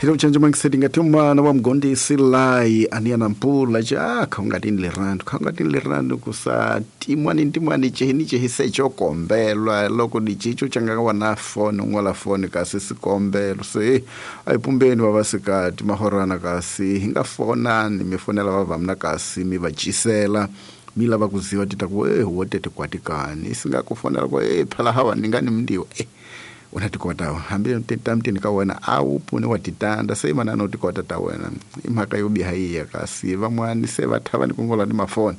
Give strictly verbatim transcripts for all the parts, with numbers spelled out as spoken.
Thina uchanje mangiseti ngathi umana wa mgondisi lai ania na mpula ja khongatini lerando khongatini lerando kusa timwani timwani chehini chehise chokombelwa loko dichicho changa wana phone ngola phone kasi sikombelo se ayipumbeni vavasikati mahorana kasi hinga fonani mifonela vavamna kasi mivachisela mi lava kuziva tita ku eh wotete kwatikani singakufonela ku eh phala hawa ningani mndiwa eh unatikota hambi tamtini ka wena a wu pfuni wa titanda se manana u tikota ta wena i mhaka yo biha yiya kasi van'wani se va thava ni kungola ni mafoni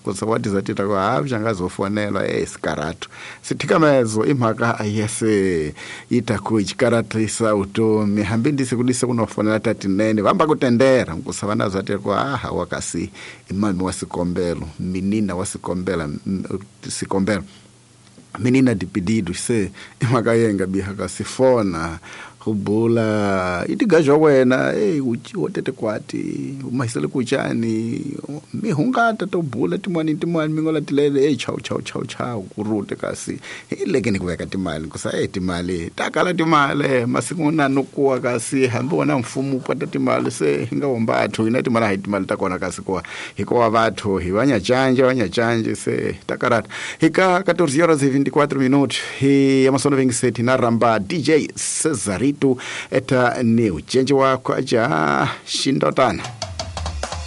kusa wa tiza tita ku ha vyangazofonelwa eh sikaratu sithikamezo i mhaka yese yi ta ku xikaratisa vutomi hambi ndise ku dise kunofonela tatinene vamba ku tendera nkusa vana zwa tira ku ha wa kasi i mami wa sikombelo minina wa sikombela sikombelo menina de pedidos se i mhaka yenga biha kasi fona hubula itigaja wena eh wo tete kwati umahisele kuchani mi hungata to bula timwani timwani mingola tilele eh chau chau chau chau kurute kasi ileke ni kuweka timali kusa eh timali takala timali masiku na nokuwa kasi hambi wona mfumo upata timali se hinga wombathu ina timali hayi timali takona kasi kwa hikuwa vathu hi vanyachanje vanyachanje se takarata hika catorze horas e vinte e quatro minutos hi amasono vengiseti na ramba D J Cesarito eta ni uchenje wako aja shindotana.